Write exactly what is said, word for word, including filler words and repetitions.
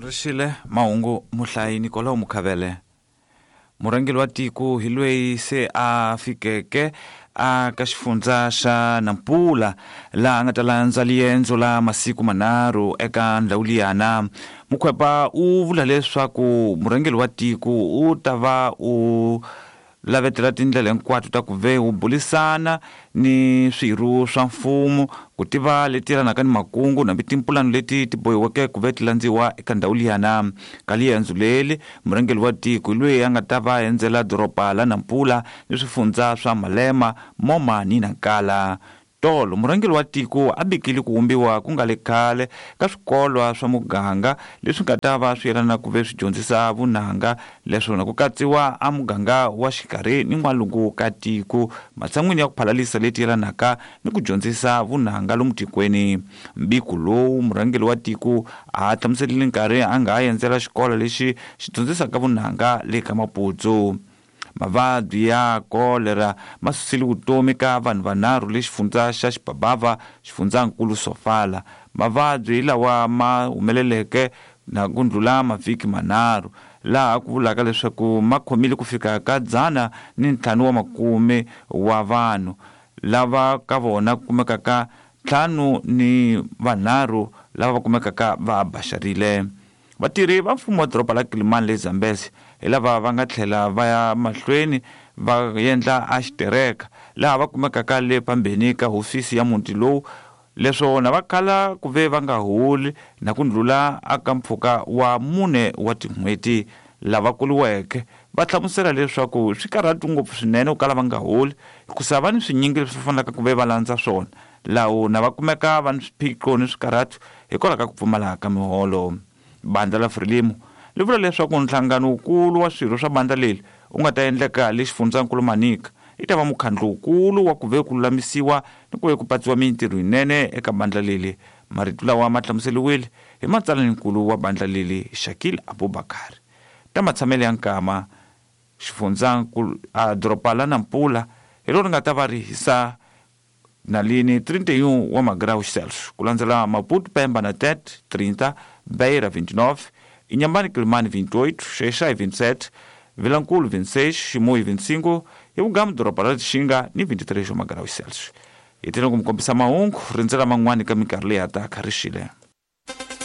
Rixile mahungu muhlayi Nicolau Mukhavele. Murhangeri wa tiko hi loyi se a fikeke a ka xifundza xa Nampula laha a nga ta landza riendzo la masiku manharhu eka ndhawu liyana. Mukhwepa u vula leswaku murhangeri wa tiko u ta va u lavetela tindlela hinkwato ta ku ve wu bulisana ni swirho swa mfumo ku tiva leti yelanaka ni makungu nambi timpulano leti ti bohiweke ku ve ti landziwa eka ndhawu liyana. Ka riendzo leri murhangeri wa tiko hi loyi a nga ta va endzela doroba la Nampula ni swifundza swa Malema, Moma ni Nankala. Tolo murhangeri wa tiko a bikile ku vumbiwa ku nga le khale ka swikolwa swa muganga leswi nga ta va swi yelana ku ve swi dyondzisa vunanga, leswona ku katsiwa a muganga wa xikarhi ni n'walungu ka tiko matshan'wini ya ku phalalisa leti yelanaka ni ku dyondzisa vunanga lomu tikweni. Mbiko lowu murhangeri wa tiko a hlamuserile nkarhi a nga ha endzela xikolo lexi xi dyondzisaka vunanga le ka Maputsu. Mavabyi ya kolera ma susile vutomi ka vanhu vanharhu le xifundza xa Xibabava, xifundzankulu Sofala. Mavabyi lawa ma humeleleke na ku ndlula mavhiki manharhu, laha ku vulaka leswaku ma khomile ku fika ka dzana ni ntlhanu wa makume wa vanhu, lava ka vona ku kumekaka ntlhanu ni vanharhu lava va kumekaka va baxarile. Vatirhi va mfumo wa doroba la Kilimani le Zambezi hi lava va nga tlhela va ya mahlweni va endla a xitereka laha va kumekaka le pambeni ka hofisi ya muti lowu, leswona va khala ku ve va nga holi na ku ndlula aka mpfhuka wa mune wa tin'hweti. Lava kuliweke va hlamusela leswaku swi karhata ngopfu swinene ku kala va nga holi hikusa va ni swinyingi leswi fanelaka ku ve va landza swona, laha na va kumeka va ni swiphiqo ni swikarhato hikwalaho ka ku pfumala ka miholo. Bandla la Frelimo li vula leswaku nhlangano wukulu wa swirho swa bandla leri wu nga ta endleka le xifundzankulu Manica i ta va mukhandlu wukulu wa ku ve ku lulamisiwa ni ku ve ku patsiwa mintirho yinene eka bandla leri. Marito lawa ma hlamuseriwile hi matsalaninkulu wa bandla leri Shakil Abubakar. Ta matshamelo ya nkama xifundzankulu a doroba la Nampula hi rona ri nga ta va ri hisa nalini trinta e um wa magraus Celsius, ku landzela Maputo, Pemba na Tete trinta, Beira vinte e nove, Inhambane Quelimane vinte e oito, Xai-Xai vinte e sete, Vilankulo vinte e seis, Chimoio vinte e cinco e Ugamo doroba ra Lixinga ni vinte e três wa magraus Celsius. Hi tele ku mi kombisa mahungu rindzela man'wani ka minkarhi leyi ya taka. Rixile.